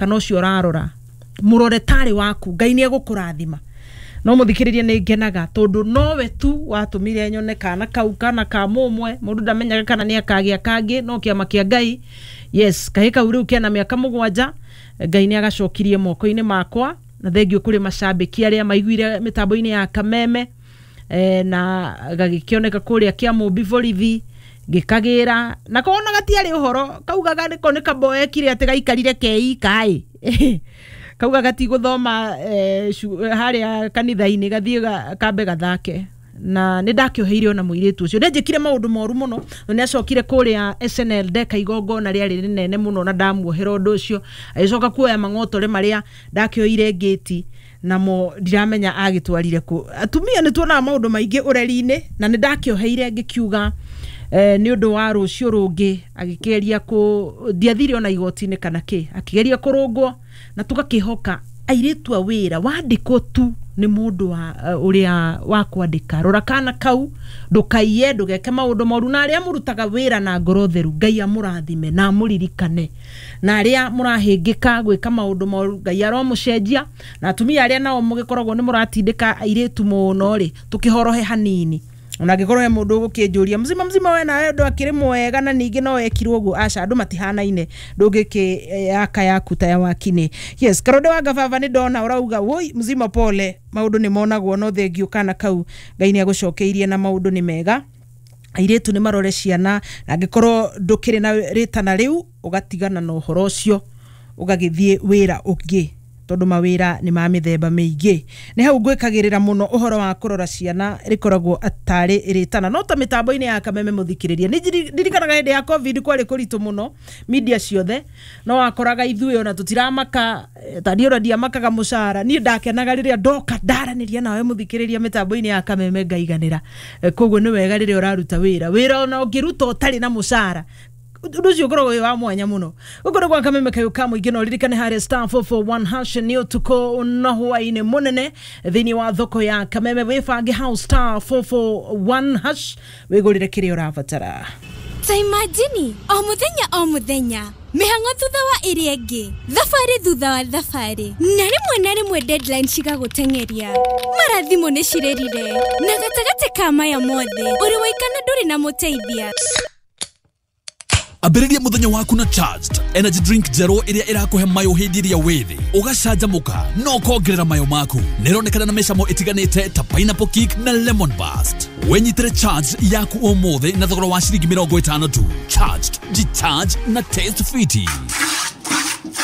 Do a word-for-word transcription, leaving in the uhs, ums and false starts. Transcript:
Kana ũcio ũrarora, mũrore tarĩ waku, Ngai nĩ egũkũrathima. No mũthikĩrĩria, nĩ ngenaga tondũ nowe tu watũmire nyone kana kau, kana ka mũmwe. Mũndũ ndamenyaga kana nĩ akagĩa kangĩ, no kĩama kĩa Ngai. Yes, kahĩ kau rĩu kena mĩaka mũgwanja. Ngai nĩ agacokirie moko-inĩ makwa, na thengiũ kũrĩ macambĩki arĩa maiguire mĩtambo-inĩ ya Kameme, eh, na gagĩkĩoneka kũrĩa Kĩamũmbi borithi, ngĩkagĩra nako. Ona gatiarĩ ũhoro, kaugaga nĩko nĩ kamboekire atĩ gaikarire keika ĩ, kauga gatigũthoma eh, cu- harĩa kanitha-inĩ, gathiĩ ga- kambe gathake. Na nĩ ndakĩoheire ona mũirĩtu ũcio, nĩ njĩkire maũndũ moru mũno. Na nĩ acokire kũrĩa S N L, ndeka igongona rĩarĩ rĩnene mũno na ndamuohera ũndũ ũcio. Agĩcoka kuoya mang'otore marĩa ndakĩoire ngĩti namo, ndiramenya agĩtwarire kũ. Atumia nĩ tuonaga maũndũ maingĩ ũreri-inĩ, na nĩ ndakĩoheire ngĩkiuga eh, nĩ ũndũ wa rũciũ rũngĩ. Agĩkĩgeria kũ, ndiathire ona igoti-inĩ kana kĩ, akĩgeria kũrũngwo. Na tũgakĩhoka airĩtu a wĩra wandĩkwo tu nĩ mũndũ wa uh, ũrĩa wa kwandĩka, rora kana kau, ndũkaiye, ndũgeke maũndũ moru. Na arĩa mũrutaga wĩra na ngoro theru, Ngai amũrathime na amũririkane. Na arĩa mũrahĩngĩka gwĩka maũndũ moru, Ngai aromũcenjia. Na atumia arĩa nao mũgĩkoragwo nĩ mũratindĩka airĩtu mũno rĩ, tũkĩhorohe hanini. Ona angĩkorwo he mũndũ ũgũkĩnjũria, "Mzima mzima, we nawe ũndũ akĩrĩ mwega na ningĩ no wekirwo ũguo?" Aca, andũ matihanaine, ndũngĩkĩ yaka yaku ta ya wakinĩ. Yes, Karonde wa Ngababa, nĩ ndona ũrauga, "Woi mzima, pole, maũndũ nĩ monagwo." No thengiũ, kana kau Ngai nĩ agũcokeirie na maũndũ nĩ mega. Airĩtu nĩ marore ciana, na angĩkorwo ndũkĩrĩ na rĩtana rĩu, ũgatigana na ũhoro ũcio, ũgagĩthiĩ wĩra ũngĩ, tondũ mawĩra nĩ ma mĩthemba mĩingĩ. Nĩ hau ngwĩkagĩrĩra mũno ũhoro wa kũrora ciana, rĩkoragwo atarĩ rĩtana. No ta mĩtambo-inĩ ya Kameme, mũthikĩrĩria, nĩ njiri- ndirikanaga hĩndĩ ya COVID kwarĩ kũritũ mũno media ciothe, no wakoraga ithuĩ ona tũtiramaka, eh, ta niĩ ona ndiamakaga mũcara. Niĩ ndakenaga rĩrĩa ndoka ndaranĩria nawe mũthikĩrĩria mĩtambo-inĩ ya Kameme, ngaiganĩra. Eh, koguo nĩ wega rĩrĩa ũraruta wĩra, wĩra ona ũngĩruta ũtarĩ na mũcara, ũndũ ũcio ũkoragwo wĩ wa mwanya mũno. Gũkũ nĩ gwa Kameme kayũ ka mũingĩ. No ririkane harĩa star four four one hash nĩ ũtukũ na hwaĩ-inĩ mũnene thĩinĩ wa thoko ya Kameme. Wĩbange hau star four four one hash, wĩgũrĩre kĩrĩa ũrabatara. Ta imagine, o mũthenya o mũthenya, mĩhang'o thutha wa ĩrĩa ĩngĩ, thabarĩ thutha wa thabarĩ, na rĩmwe na rĩmwe deadline cigagũteng'eria, mara thimũ nĩ cirĩrire, na gatagatĩ ka maya mothe ũrĩ waikana, ndũrĩ na mũteithia. Ambĩrĩria mũthenya waku na Charged energy drink njerũ ĩrĩa ĩrakũhe mayũ hĩndĩ ĩrĩa wĩ thĩ, ũgacanjamũka na ũkongerera mayũ maku. Nĩ ĩronekana na mĩcamo ĩtiganĩte ta pineapple kick na lemon burst. Wĩnyitĩre Charged yaku ũmũthĩ na thogora wa ciringi mĩrongo ĩtano tu. Charged, jicharge na taste fiti.